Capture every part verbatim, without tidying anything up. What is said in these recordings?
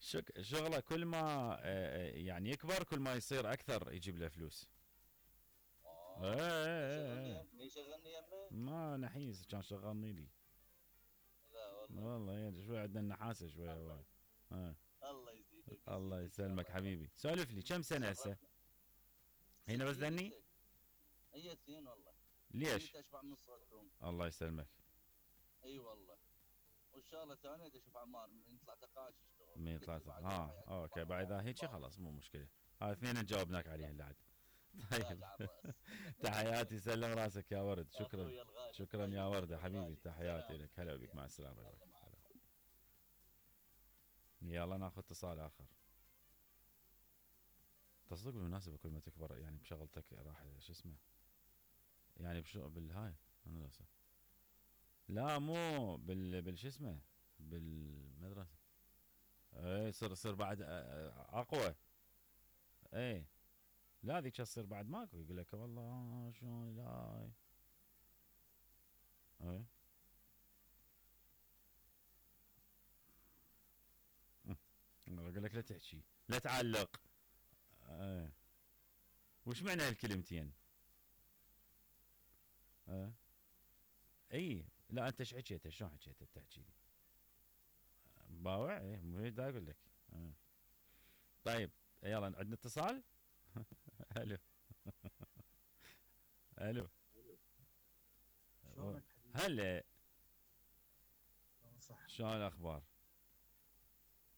شك- شغله كل ما آه، آه، يعني يكبر كل ما يصير اكثر يجيب له فلوس. ايه اه. من ايه يشغلني ايه. يم... من يشغلني يمه. ما نحيس كان شغلني لي. لا والله. والله يعني شوي عندنا النحاسه شوي الله هواي. اه. الله يزيدك الله ويزيدك يا يسلمك الله يا رب. حبيبي، سولف لي كم سنه هسه؟ شرفنا. هنا بس ستين قلت ذني. لك. هي اثنين والله. ليش؟ جيت اشبع من صوتكم. الله يسلمك. اي والله. والشغله الثانيه بدي اشوف عمار من يطلع تقاعد يشتغل، من قلت له ثلاثة بعد ها روحي اوكي بعد هيك عمار. خلاص مو مشكله. هاي اثنين جاوبناك عليها اللي عاد. طيب. تاج على الراس. تحياتي سلم راسك يا ورد، شكرا. اخوي الغالي شكرا يا طيب ورده حبيبي، والغالي تحياتي سلام. لك، هلا بك، يلا مع السلامه، باي باي. يلا مع هلا. السلامه. يلا ناخذ اتصال اخر. تصدق بالمناسبة كل ما تكبر يعني بشغلتك راح شو اسمه يعني بشغل بالهاي انا لا صح. لا مو بال بالش اسمه بالمدرسة. اي صير صير بعد اقوى. اي لا ذيك تصير بعد ماكو، يقول لك والله شلون لا. اي يقول لك لا تحكي لا تعلق. اي وش معنى هالكلمتين؟ اي اي لا انت ايش حكيت؟ شلون حكيت بتحكي لي؟ باوع ايه مو دا اقول لك. آه. طيب يلا عندنا اتصال. الو. الو. شلونك حبيبي؟ هلا. صح. شلون الاخبار؟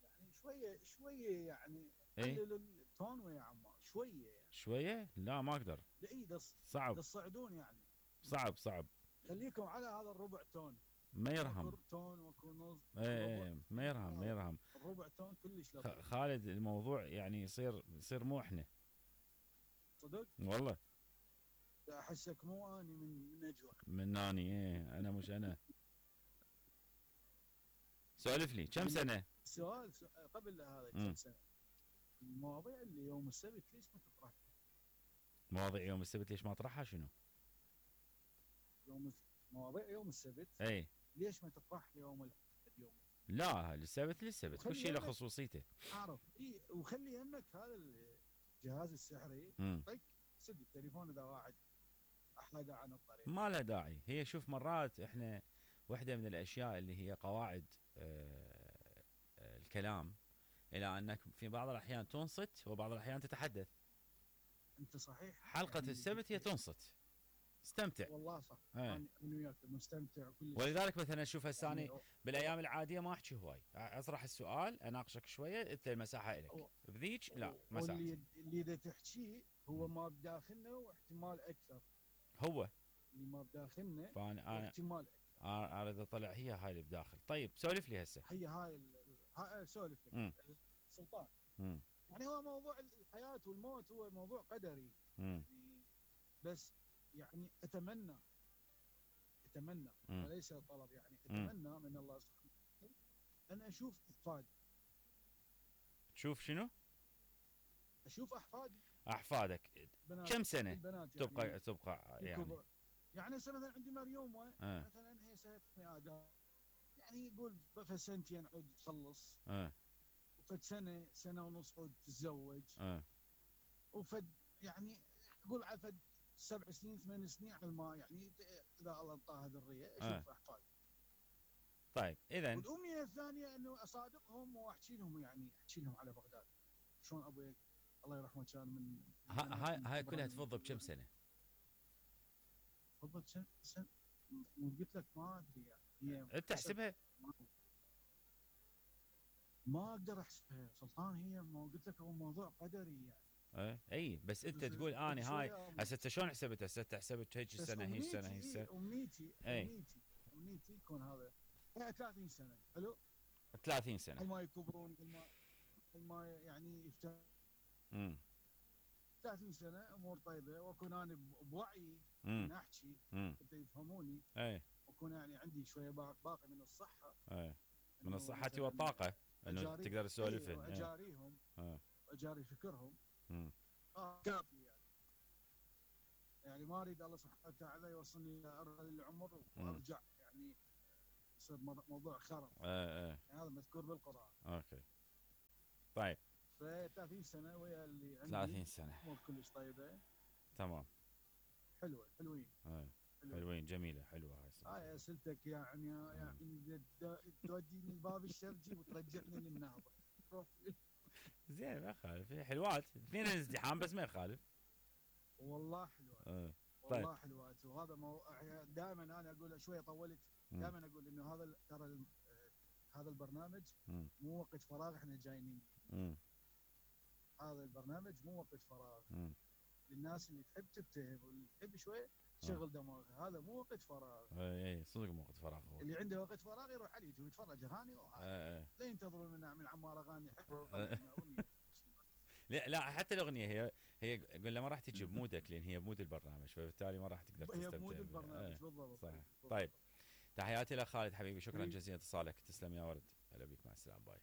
يعني شويه شويه يعني ايه قلل التون ويا عمار شويه يعني. شويه لا ما اقدر. لا اي صعب تصعدون يعني. صعب صعب. خليكم على هذا الربع تون. ما يرهم. وكر تون وكر نص. ايه ايه ما يرهم ما يرهم. الربع تون كلش خ- لطيف. خالد الموضوع يعني يصير يصير مو احنا. صدق؟ والله احسك مو اني من من اجوع. من ناني ايه انا مش انا. سولف لي كم سنه؟ سؤال سؤال قبل هذا مم. كم سنه؟ المواضيع اللي يوم السبت ليش ما تطرح؟ مواضيع يوم السبت ليش ما اطرحها شنو؟ يوم الس- مواضيع يوم السبت اي ليش ما تطرح يوم الأحد اليوم؟ لا السبت للسبت كل شيء له وخلي خصوصيته. اعرف اي وخلي يمك هذا الجهاز السحري مم. طق سد التليفون اذا واحد احد عن الطريق. ما لها داعي. هي شوف مرات احنا واحدة من الاشياء اللي هي قواعد آه، آه، الكلام الى انك في بعض الاحيان تنصت وبعض الاحيان تتحدث. انت صحيح حلقة يعني السبت هي تنصت استمتع. والله صح. ايه. انا انا وياك مستمتع كل ولذلك مثلا شوف هسه يعني أنا بالايام العاديه ما احكي هواي، اطرح السؤال اناقشك شويه انت المساحه لك. و- بذيك لا مساحه. واللي اللي اذا تحكيه هو ما بداخلنا واحتمال اكثر. هو اللي ما بداخلنا فانا انا واحتمال اكثر. انا اريد اطلع هي هاي اللي بداخل. طيب سولف لي هسه. هي هاي ال- هاي سولف امم لك سلطان. امم يعني هو موضوع الحياه والموت هو موضوع قدري امم يعني. بس يعني اتمنى اتمنى مم. وليس طلب يعني مم. اتمنى من الله سبحانه وتعالى ان اشوف احفادي. تشوف شنو؟ اشوف احفادي احفادك بنات كم سنه البنات يعني تبقى تبقى يعني؟ الكبر. يعني هسه مثلا عندي مريومه آه. مثلا هي سنه ادم يعني يقول في سنتين عود تخلص اه وفد سنه سنه ونص عود تتزوج اه وفد يعني يقول على فد سبع سنين ثمان سنين على ما يعني اذا الله انطاها ذريه اشوف آه. احفادي. طيب اذا والامنيه الثانيه انه اصادقهم واحكي لهم يعني احكي لهم على بغداد شلون ابوي الله يرحمه كان من هاي هاي كلها تفضل بكم سنه؟ تفضل سنه سنه وقلت لك ما ادري يعني هي انت احسبها. ما, ما اقدر احسبها سلطان. هي ما قلت لك هو موضوع قدري يعني. ايه اي بس انت بس- تقول اني بس هاي شوية- هسه انت شلون حسبت؟ هسه انت حسبت هيك بس السنه هي السنه هي أمنيتي- السنه إيه، امنيتي إيه. امنيتي امنيتي يكون هذا يعني ثلاثين سنه حلو. ثلاثين سنه. قبل ما يكبرون قبل ما قبل ما يعني يفتح امم ثلاثين سنه امور طيبه واكون انا بوعي ان امم احكي امم حتى يفهموني اي واكون يعني عندي شويه باق- باقي من الصحه اي من إنه الصحة مثلاً والطاقة انه أجاري- تقدر تسولفن. إيه، إيه. واجاريهم آه. واجاري فكرهم مم. اه كافي يعني. يعني ما اريد الله سبحانه وتعالى يوصلني الى ارذل العمر وارجع يعني يصير مر- موضوع خرب ايه ايه يعني. هذا مذكور بالقران. اوكي. ثلاثين سنه ويا اللي عندي ثلاثين سنة. امور كلش طيبه. تمام. حلوه حلوين. ايه. حلوين. حلوين جميلة حلوة هاي الصراحة. هاي اسئلتك يعني يعني توديني الباب الشرجي وترجعني للنهضه. روح. زين ما يخالف حلوات اثنين ازدحام بس ما يخالف. والله حلوات. اه. والله طيب. حلوات وهذا مو... دائما انا اقول شويه طولت. دائما اقول انه هذا ترى ال... هذا البرنامج مم. مو وقت فراغ احنا جايين. مم. هذا البرنامج مو وقت فراغ. مم. للناس اللي تحب تبتهل واللي تحب شويه تشغل دماغها. هذا مو وقت فراغ. اي اي صدق مو وقت فراغ هو. اللي عنده وقت فراغ يروح على اليوتيوب يتفرج اغاني ايه. لا ينتظروا من من عمار اغاني حلوه. لا لا حتى الاغنيه هي هي قلنا ما راح تجي بمودك لان هي بمود البرنامج فبالتالي ما راح تقدر تستمتع. هي بمود البرنامج بالضبط. صحيح. طيب تحياتي لك خالد حبيبي شكرا جزيلا اتصالك تسلم يا ورد. هلا بيك مع السلامه باي.